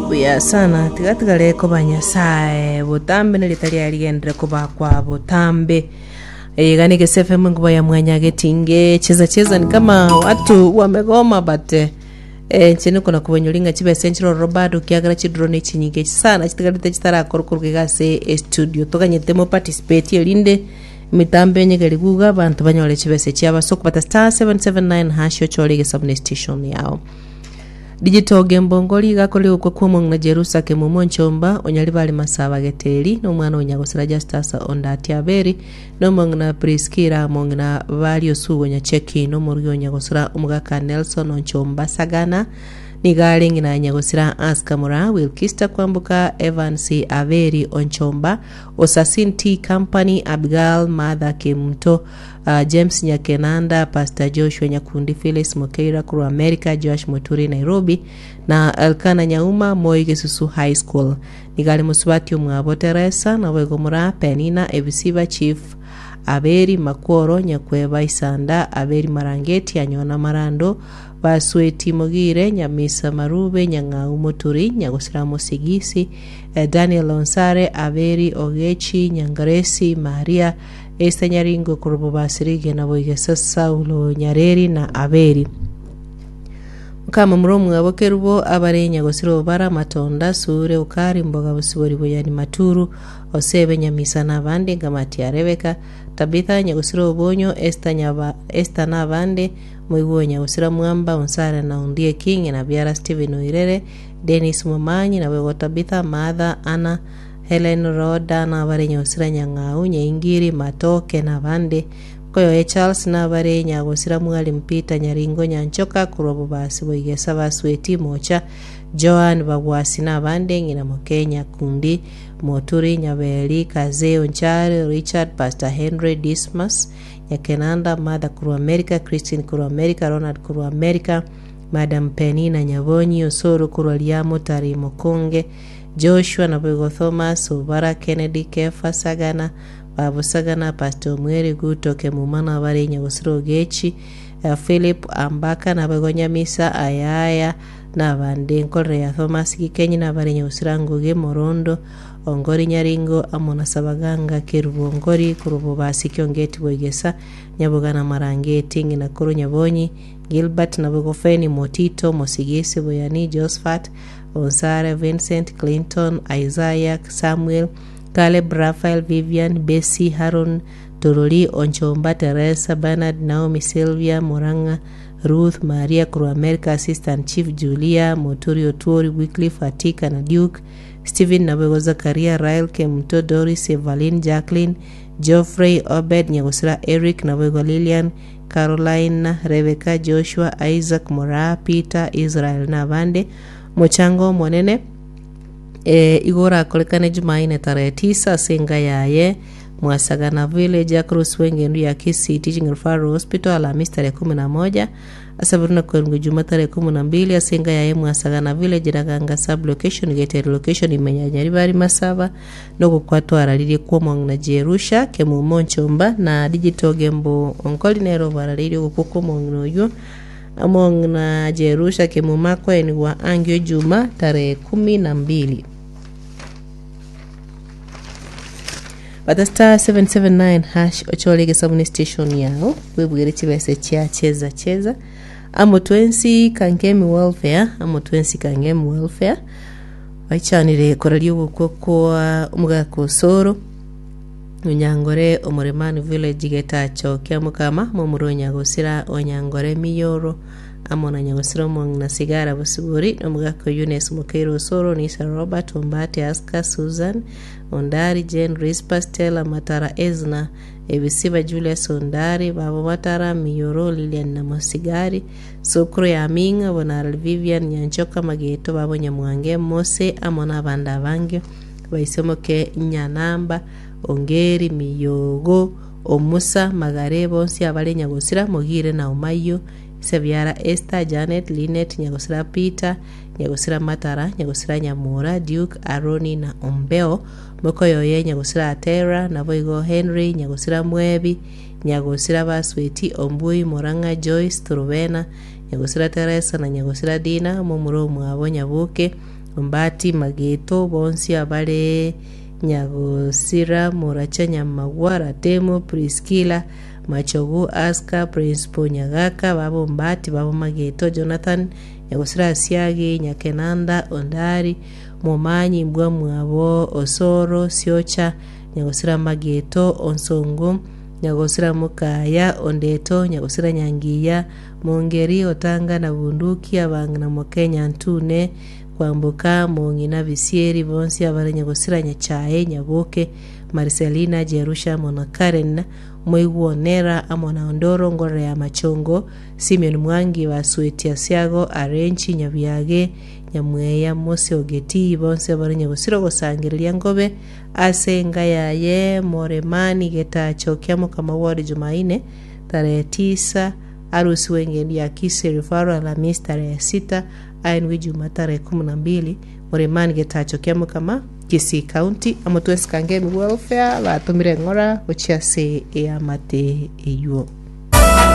Buya sana tiga tigare koba Nyasae botambe na rieta riaye rigenderere kobakwa botambe. Iga ni Gese FM enkuba ya mwanya getinge cheza cheza ni kama watu wamegoma but eh, eh, inche nikona kobanyori ng'a chibesa nchire ororo bado kiagera chiduro ne chinyinge sana chitigarete chitarakorwa korwa iga ase estudio toganyete mo participate erinde emitambo enyegeri guga abanto banyore chibesa chiabo ase okobata star 779 hash ochore egesabu ne station yao. Digital Gembongori iga akorire gokwa kw'omong'ina Jerusa Kemumu Onchomba, Onyaribari Masaba Geteri, na omwana o Nyagosira Justus Ondati Aberi, na omong'ina Priskila, omong'ina Bari Osugo Nyacheki, na omorugi o Nyagosira omogaka Nelson Onchomba Sagana, nigo are ng'ina ya Nyagosira Aska Moraa, Wilkista Kwamboka, Evans Aberi Onchomba, Osasin Tea Company, Abigail Martha Kemunto, James Nyakenanda, Pastor Joshua Nyakundi, Phyllis Mokeira korwa America, Joash Moturi Nairobi, na Elkana Nyauma, Moi Gesusu High School. Nigo are mosubati omwabo Teresa, naboigo Moraa, Penina, Ebisiba, Chief Aberi, Makworo, Nyakweba, Isanda, Aberi Marangeti, Anyona Marando, Basweti Mogire, Nyamisa Marube, Nyang'au Moturi, Nyagosira Mosigisi, Daniel Onsare, Aberi Ogechi, Nyangaresi, Maria, Esther Nyaringo korwa Bobasi Rigena boigesa Saulo Nyareri na Aberi. Mokamomura omwabo Kerubo abare Nyagosira Obara Matonda Sure Ukari Mboga Bosibori Boyani Maturu Osebe Nyamisa na abande Ngamati ya Rebeka Tabitha Nyagosira Obonyo Esther Nyaba Esther na abande Moigwa Nyagosira Mwamba Onsare na Ondieki Ng'ina Biara Stephen Oirere Dennis Momanyi naboigo Tabitha Martha Anna Helen Roda nabare Nyagosira Nyang'au, Nyaingiri, Matoke na abande. Nkoyoye Charles nabare Nyagosira Mwalimu Peter Nyaringo Nyanchoka korwa Bobasi Boigesa Basweti Mocha Joan Bagwasi na abande Ng'ina Moke Nyakundi Moturi Nyaberi Kazee Onchari Richard Pastor Henry Dismas Nyakenanda Martha korwa America Christine korwa America Ronald korwa America Madam Penina Nyabonyi Osoro korwa Riamotari Mokonge Joshua, naboigo Thomas, Obara, Kennedy, Kefa, Sagana, Babu Sagana, Pastor Omweri, Guto, Kemuma, na abare Nyagosira Ogechi, Philip, Ambaka, naboigo Nyamisa, Ayaya, na abande. Nkorere ya Thomas Gikenyi, na abare Nyagosira Ngugi, Morondo, Ongori Nyaringo, amo na Sabaganga, Kerubo Ongori, korwa Bobasi, Kiongeti Boigesa, Nyaboga na Marangeti, Ng'ina korwa Nyabonyi, Gilbert, naboigo Feni, Motito, Mosigisi, Boyani, Josphat, Onsare, Vincent, Clinton, Isaiah, Samuel, Caleb, Raphael, Vivian, Bessie, Haron, Torori, Onchomba, Teresa, Bernard, Naomi, Sylvia, Murang'a, Ruth, Maria korwa America, Assistant Chief Julia, Moturi Otuori, Wycliffe, Atika na Duke, Stephen naboigo Zakaria, Rael, Kemunto, Doris, Evaline, Jacqueline, Geoffrey, Obed, Nyagosira, Eric, naboigo Lilian, Caroline, Rebecca, Joshua, Isaac, Moraa, Peter, Israel na abande. Omochango omonene eh, igo orakorekane Jumaine tarehe tisa ase enka yaye Mwasagana Village across w'engendu ya Kisii Teaching Referral Hospital Alhamisi tarehe kumi na moja ase na kwerungwa Ijuma tarehe kumi na mbili ase enka yaye Mwasagana Village Raganga sub location Geteri location ime ya Nyaribari Masaba nogokwa twararirie kw'omong'ina Jerusha Kemumo Nchomba na Digital Gembo Onkori nere obararirie ogokwa kw'omong'ina oyio Omong'ina Jerusha Kemuma akoenigwa angio Ijuma tarehe kumi na mbili. Bata star 779 hash ochore egesabuni station yao bwebugere chibesa chia cheza cheza amo twensi Kangemi welfare amo twensi Kangemi welfare baichanire koraria ogokwa kwa omogaka Osoro Onyangore Omoremani Village Getacho kia Mokama momura o Nyagosira Onyangore Miyoro amo na Nyagosira omong'ina Sigara Bosibori na omogaka Eunice Mokeire Osoro Nisa Robert Ombati Aska Susan Ondari Jane Rispa Stella Matara Ezna Ebisiba Julius Ondari Babo Matara Miyoro Lilian na Mosigari Sokoro ya Aming'a Bonarari Vivian Nyanchoka Mageto Babo Nyamwange Mose amo nabande abange Baisomoke Nyanamba, Ongeri, Miyogo, Omusa, Magare, bonsi abare Nyagosira, Mogire na Omayio, Ise biara Esther, Janet, Linet, Nyagosira Peter, Nyagosira Matara, Nyagosira Nyamura, Duke, Aroni na Ombeo, mokoyoye Nyagosira Atera, naboigo Henry, Nyagosira Mwebi, Nyagosira Basweti, Ombui, Morang'a, Joyce, Turubena, Nyagosira Teresa na Nyagosira Dina, momura omwabo Nyaboke, Ombati Mageto, bonsi abare Nyagosira, Moracha Nyamagwa, Ratemo, Priskila, Machogu, Aska, Principal Nyagaka, baba Ombati, baba Mageto, Jonathan, Nyagosira Asiagi, Nyakenanda, Ondari, Momanyi, Mbwa mwabo, Osoro, Siocha, Nyagosira Mageto, Onsongo, Nyagosira Mokaya, Ondeto, Nyagosira Nyangiya, Mongeri, Otanga na Bunduki, Abang'ina Mokenya Ntune, Kwamboka, Mong'ina Bisieri, bonsi abare Nyagosira Nyachae, Nyaboke, Marcelina, Jerusha amo na Karen, Moigwa Onera amo na Ondoro, Ngorere ya Machongo, Simeon Mwangi, Basweti Asiago, Arenchi, Nyabiage, Nyamweya, Mose Ogetii, bonsi abare Nyagosira ogosangereria Ngobe ase enka yaye Moremani Getacho kia Mokama Ward Jumaine, tarehe tisa, arusigwe engendu ya Kisii Referral Alhamisi tarehe sita, aenwe Ijumaa tarehe kumi na mbili, Moremani Getacho kia Mokama, Kisii County, amo twensi Kangemi Welfare batomire eng'ora gochia ase eamate eywo.